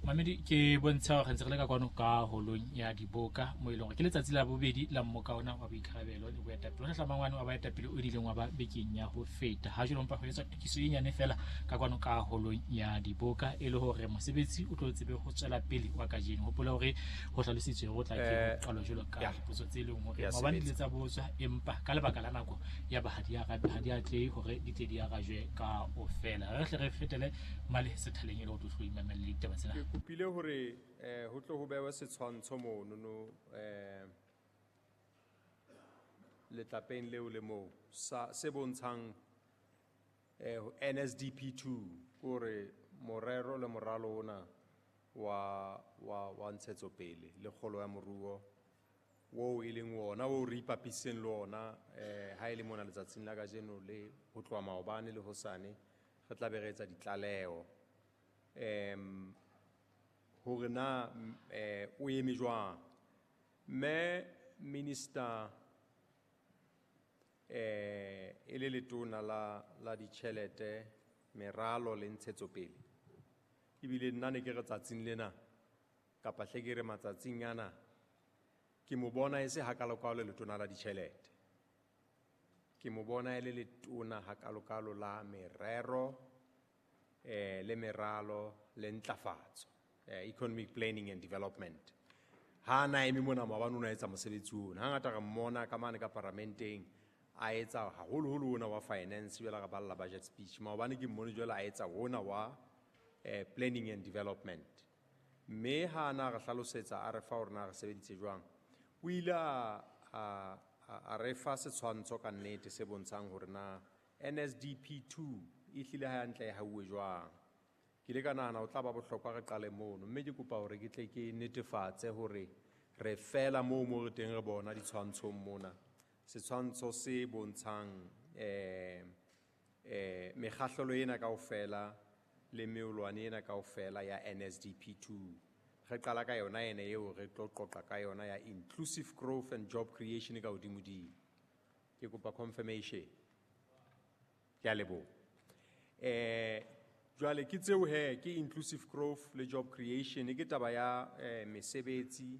Mamedi, ke bontsha hore re ntse re le ka kwano ka holong ya diboka mo e leng hore ke letsatsi la bobedi la mmoka ona wa boikarabelo le boetapele o hlahlamang wane wa baetapele o ileng wa ba bekeng ya ho feta. Ha jwale mpa ho etswa tokiso e nyane fela ka kwano ka holong ya diboka e le hore mosebetsi o tlo tsebe ho tswela pele wa kajeno. Hopola hore ho hlalositswe hore o tla ke ho qalwa jwalo ka dipotso tse leng hore maobane di ile tsa botswa, empa ka lebaka la nako ya ba ha di ha di atlehe hore di tle di arajwe kaofela. Re hle re fetele male sethaleng e le hore tlo imamelle ditaba tsena. Ke kopile hore ho tlo ho bewe setshwantsho mono letlapeng leo le moo sa se bontshang NSDP 2, kore morero le moralo ona wa ntshetsopele le kgolo ya moruo wo e leng wona o re ipapisitseng le ona ha e le mona letsatsing la kajeno le ho tloha maobane le hosane re tla be re etsa ditlaleho hore na o eme jwang. Mme minister e le letona la ditjhelete, meralo le ntshetsopele, ebile nna ne ke re tsatsing lena kapa hle ke re matsatsing ana ke mo bona e se hakalokalo letona la ditjhelete, ke mo bona e le letona hakalokalo la merero le meralo le ntlafatso, economic planning and development. Ha na eme mona maobane o na etsa mosebetsi ona. Hangata re mmona ka mane ka paramenteng a etsa haholoholo ona wa finance, jwale re balla budget speech. Maobane ke mmone jwale a etsa ona wa planning and development. Mme ha na re hlalosetsa a re fa hore na re sebeditse jwang, o ile a re fa setshwantsho ka nnete se bontshang hore na NSDP 2 e hlile hantle e hauwe jwang. Ke ile ka nahana ho tla ba bohlokwa re qale mono, mme ke kopa hore ke tle ke netefatse hore re fela moo mo re teng re bona ditshwantshong mona. Setshwantsho se bontshang mekgahlelo ena kaofela le meolwane ena kaofela ya NSDP 2. Re qala ka yona ene eo re tlo qoqa ka yona ya inclusive growth and job creation ka hodimodimo. Ke kopa confirmation. Ke a leboha. Jwale ke tseo he, ke inclusive growth le job creation, ke taba ya mesebetsi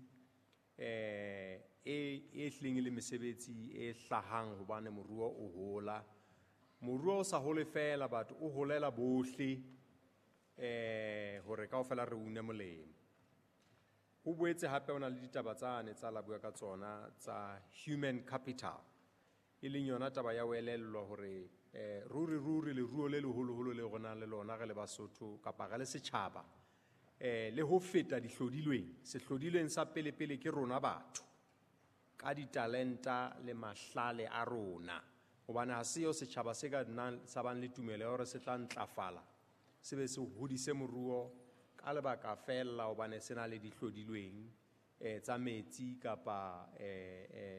e hlileng e le mesebetsi e hlahang hobane moruo o hola. Moruo o sa hole fela, batho o holela bohle hore kaofela re une molemo. Ho boetse hape ho na le ditaba tsane tsa la bua ka tsona tsa human capital, e leng yona taba ya ho elellwa hore ruri ruri leruo le leholoholo le re nang le lona re le Basotho kapa re le setjhaba, le ho feta dihlodilweng. Sehlodilweng sa pele-pele ke rona batho ka ditalenta le mahlale a rona, hobane ha seo setjhaba se ka nnang sa bang le tumelo ya hore se tla ntlafala, se be se hodise moruo ka lebaka fela hobane se na le dihlodilweng tsa metsi kapa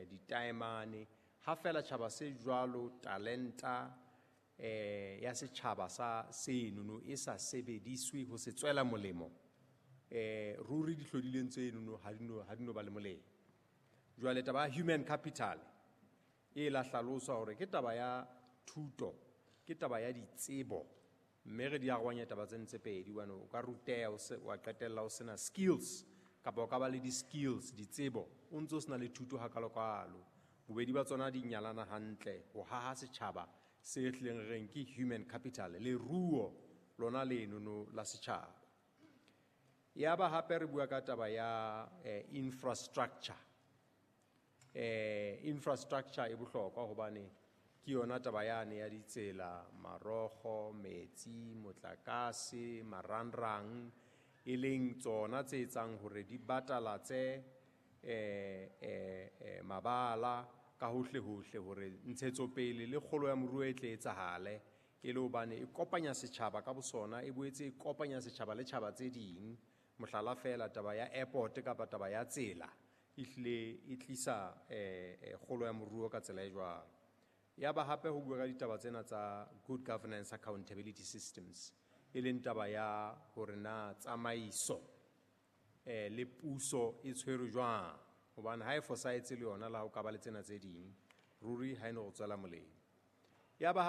ditaemane. Ha fela tjhaba se jwalo, talenta ya setjhaba sa senono e sa sebediswe ho se tswela molemo, ruri dihlodilweng tsenono ha di no ba le molemo. Jwale taba ya human capital e la hlaloswa hore ke taba ya thuto, ke taba ya ditsebo, mme re di arohanya taba tsena tse pedi, hobane o ka ruteha wa qetella o sena skills, kapa o ka ba le di-skills, ditsebo, o ntso sena le thuto hakalokalo. Bobedi ba tsona di nyalana hantle ho haha setjhaba se hlileng re reng ke human capital, leruo lona lenono la setjhaba. Ya ba hape re bua ka taba ya infrastructure. Infrastructure e bohlokwa hobane ke yona taba yane ya ditsela, marokgo, metsi, motlakase, marangrang, e leng tsona tse etsang hore di batalatse mabala ka hohle hohle hore ntshetsopele le kgolo ya moruo e tle etsahale, e le hobane e kopanya setjhaba ka bosona, e boetse e kopanya setjhaba le tjhaba tse ding. Mohlala fela taba ya airport kapa taba ya tsela e hlile e tlisa kgolo ya moruo ka tsela e jwalo. Ya ba hape ho bua ka ditaba tsena tsa good governance accountability systems, e leng taba ya hore na tsamaiso le puso e tshwerwe jwang, hobane ha e fosahetse le yona la ho ka ba le tsena tse ding, ruri ha e no go tswela molemo. Ya ba